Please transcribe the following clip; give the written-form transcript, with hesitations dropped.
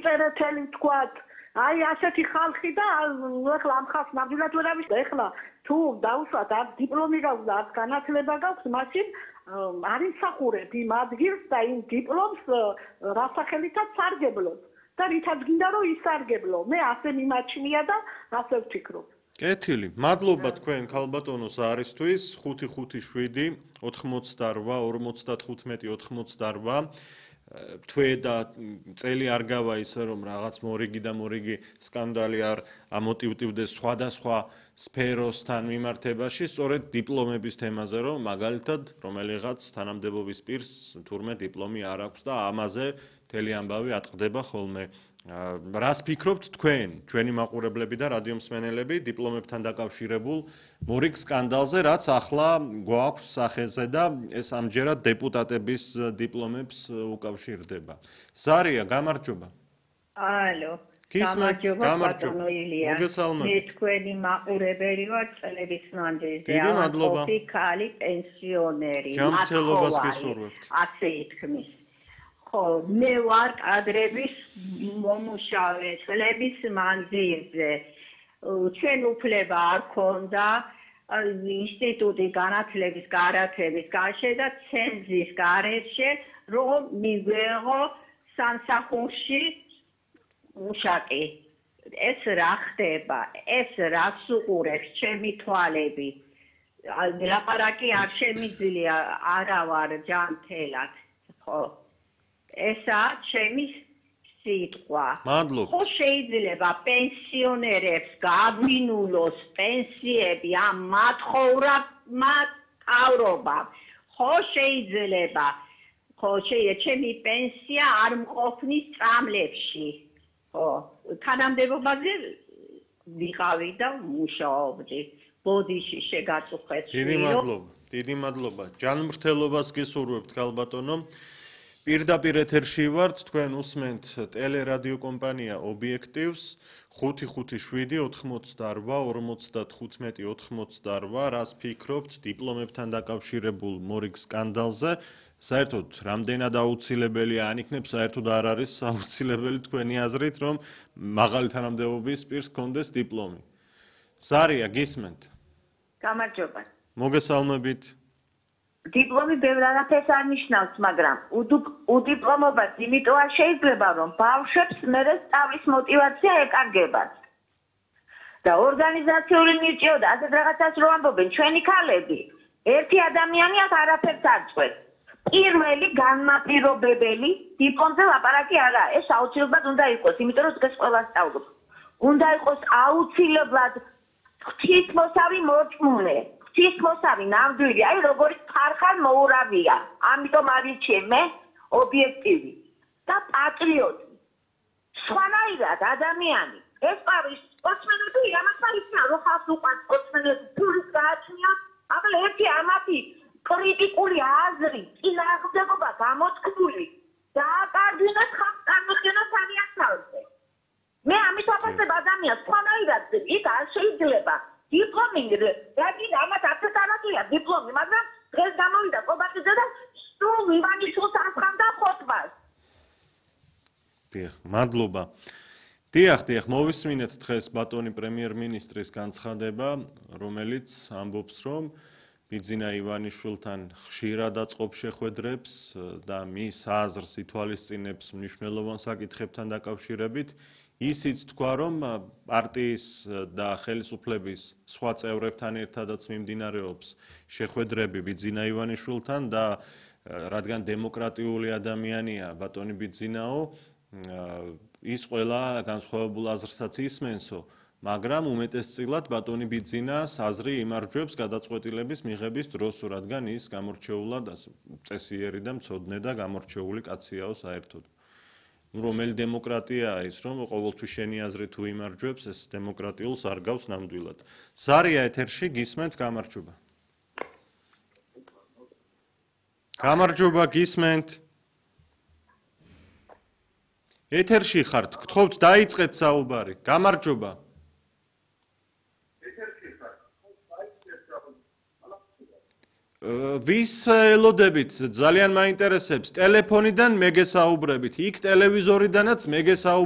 მიწერეთელი თქვათ აი ასეთი ხალხი და ეხლა ამ ხალხს ნამდვილად ვერ ამის და ეხლა თუ დავუშვათ არ დიპლომი გაქვს და არ განათლება გაქვს მაშინ არ იმსახურებ იმ ადგილს და იმ დიპლომს რასახელითაც სარგებლობ და რითაც გინდა რომ ისარგებლო მე ასე მიმაჩნია და ასე ვფიქრობ კეთილი მადლობა თქვენ ქალბატონო ზარისთვის 557 88 55 88 თვე და წელი არ გავა ისე რომ რაღაც მორიგი და მორიგი სკანდალი არ ამოტივტივდეს სხვადასხვა სფეროსთან მიმართებაში სწორედ დიპლომების თემაზე რომ მაგალითად რომელიღაც თანამდებობის პირს თურმე დიპლომი არ აქვს და ამაზე მთელი ამბავი ატყდება ხოლმე რას ფიქრობთ თქვენ ჩვენი მაყურებლები და რადიო მსმენელები დიპლომებთან დაკავშირებულ მორიგ სკანდალზე რაც ახლა გვაქვს სახეზე და ეს ამჯერად დეპუტატების დიპლომებს უკავშირდება ზარია გამარჯობა ალო გამარჯობა ილია მე თქვენი მაყურებელი ვარ წლების მანძილზე დიდი მადლობა ქალი პენსიონერი ჯანმრთელობას გისურვებთ ასე ითქმის ხო მე ვარ კადრების მომუშავე წლების მანძილზე ჩვენ უფლება არ ქონდა ინსტიტუტი განათლების გარათების გარშე და ცენზის გარეშე რომ მივეღო სამსახურში მუშაკი ეს რა ხდება ეს რას უყურებს ჩემი თვალები ლაპარაკი არ შემიძლია არა ვარ ჯანმრთელად ხო ესა ჩემი სიტყვა მადლობა ხო შეიძლება პენსიონერებს გაგვინულოს პენსიები ამ მათხოვრობა ხო შეიძლება ხო ჩემი პენსია არ მყოფნის წამლებში ხო თანამდებობაზე ვიყავი და მუშაობდი ბოდიში შეგაწუხეთ დიდი მადლობა ჯანმრთელობას გისურვებთ ქალბატონო პირდაპირ ეთერში ვართ თქვენ უსმენთ ტელერადიო კომპანია ობიექტივს 555-88-55-88 რას ფიქრობთ დიპლომებთან დაკავშირებულ მორიგ სკანდალზე საერთოდ რამდენად აუცილებელია ან იქნებ საერთოდ არ არის აუცილებელი თქვენი აზრით რომ მაღალი თანამდებობის პირს ჰქონდეს დიპლომი ზარია გისმენთ გამარჯობა მოგესალმებით დიპლომი ბევრ არაფერს არ ნიშნავს მაგრამ უდიპლომობას იმიტომ არ შეიძლება რომ ბავშვებს მერე სწავლის მოტივაცია ეკარგებათ და ორგანიზაციული მირჭიო და ასეთ რაღაცას რო ამბობენ ჩვენი ქალები ერთი ადამიანი აქ არაფერს არ წვეს პირველი განმაპირობებელი დიპლომზე ლაპარაკი არაა ეს აუცილებლად უნდა იყოს იმიტომ რომ დღეს ყველა სწავლობს უნდა იყოს აუცილებლად ღვთისმოსავი მოწმუნე ღვთისმოსავი ნამდვილი აი როგორი ხარხალ მოურავია ამიტომ არიჩე მე ობიექტივი და პატრიოტი სხვანაირად ადამიანი ეს პარის სპორტსმენები ამას არიციან რომ ხალხს უყვარს სპორტსმენები ფულის გააჩნიათ აბა ერთი ამათი კრიტიკული აზრი წინააღმდეგობა გამოთქმული დააკარგინოთ ხალხს წარმოქმნას არიან თავზე მე ამის ვაფასებ ადამიანს სხვანაირად იქ არ შეიძლება დიპლომი რაგი ამათ არც არაკია დიპლომი მაგრამ დღეს გამოვიდა ყობახიძე და სულ მივანიშნოს ამხანდა ხოტბას დიახ მადლობა დიახ მოვისმინეთ დღეს ბატონი პრემიერ-მინისტრის განცხადება რომელიც ამბობს რომ ბიძინა ივანიშვილთან ხშირად აწყობს შეხვედრებს და მის აზრს ითვალისწინებს მნიშვნელოვან საკითხებთან დაკავშირებით ისიც თქვა რომ პარტიის და ხელისუფლების სხვა წევრებთან ერთადაც მიმდინარეობს შეხვედრები ბიძინა ივანიშვილთან და რადგან დემოკრატიული ადამიანია ბატონი ბიძინაო ის ყველა განსხვავებულ აზრსაც ისმენსო მაგრამ უმეტესწილად ბატონი ბიძინას აზრი იმარჯვებს გადაწყვეტილების მიღების დროს რადგან ის გამორჩეულად წესიერი და მცოდნე და გამორჩეული კაციაო საერთოდ რომელი დემოკრატიაა ის რომ ყოველთვის შენი აზრი თუ იმარჯვებს ეს დემოკრატიულს არ გავს ნამდვილად ზარია ეთერში გისმენთ გამარჯობა გისმენთ ეთერში ხართ გთხოვთ დაიწყეთ საუბარი გამარჯობა ვის ელოდებით ძალიან მაინტერესებს ტელეფონიდან მე გესაუბრებით იქ ტელევიზორიდანაც მე